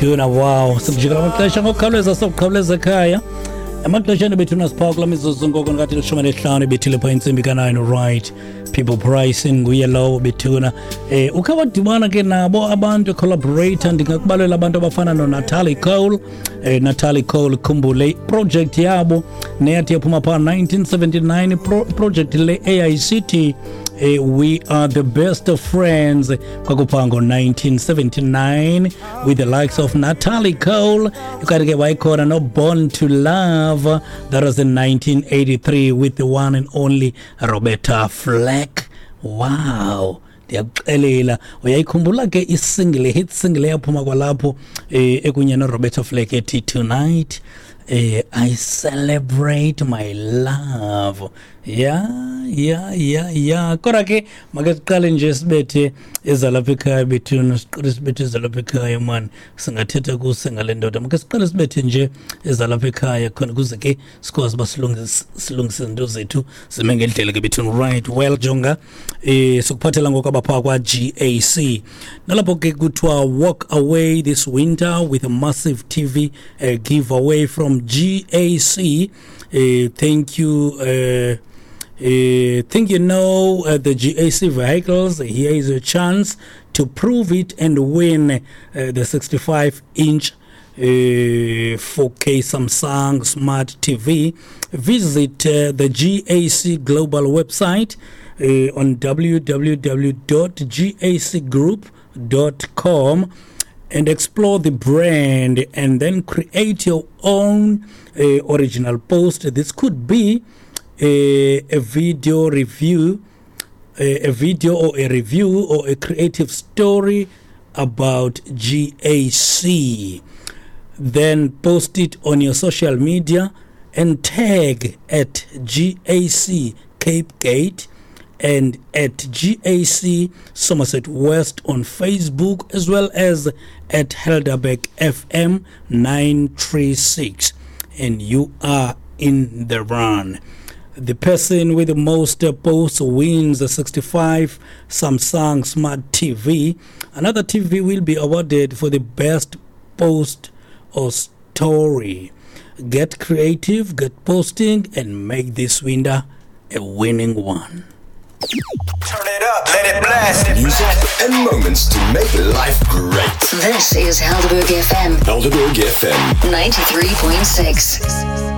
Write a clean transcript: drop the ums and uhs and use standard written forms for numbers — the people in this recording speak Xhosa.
Bethuna, wow, sikujikela amaxesha ngokukhawuleza, sokukhawuleza ekhaya emaxesheni bethuna. Siphaa kula mizuzu ngoko ngathi 15 ibethile phaa intsimbi ka-9. Right, People Pricing nguye lowo bethuna. Ukhe wadibana ke nabo abantu collaborator, ndingakubalela abantu abafana noNatalie Cole. Natalie Cole, khumbule iproject yabo neyathi yaphuma phaa 1979, project le eyayisithi "We Are the Best of Friends", kwakuphaa ngo-1979 with the likes of Natalie Cole. Kanti ke wayekhona no-Born to Love, that was in 1983 with the one and only Roberta Flack. Wow, ndiyakuxelela, uyayikhumbula ke isingle, hit single eyaphuma kwalapho ekunye noRoberta Flack ethi "Tonight I Celebrate My Love". Ya, kodwa ke make siqale nje sibethe ezalapha ekhaya bethuna, siqale sibethe ezalapha ekhaya mani, singathetha kuse ngale ndoda. Make siqale sibethe nje ezalapha ekhaya khona kuze ke sikwazi uba silungise izinto zethu zime ngendlela ke bethuna. Right, well, jonga, sikuphathela ngoku abaphaa kwa-GAC, nalapho ke kuthiwa walk away this winter with a massive TV giveaway from GAC. Thank you. Think you know the GAC vehicles? Here is a chance to prove it and win the 65 inch 4K Samsung Smart TV. Visit the GAC Global website on www.gacgroup.com and explore the brand and then create your own original post. This could be a video review, a video or a review or a creative story about GAC. Then post it on your social media and tag at GAC Cape Gate and at GAC Somerset West on Facebook, as well as at Helderberg FM 936, and you are in the run. The person with the most posts wins the 65 Samsung Smart TV. Another TV will be awarded for the best post or story. Get creative, get posting, and make this winter a winning one. Turn it up, let it blast. Music and moments to make life great. This is Helderberg FM Helderberg FM. 93.6.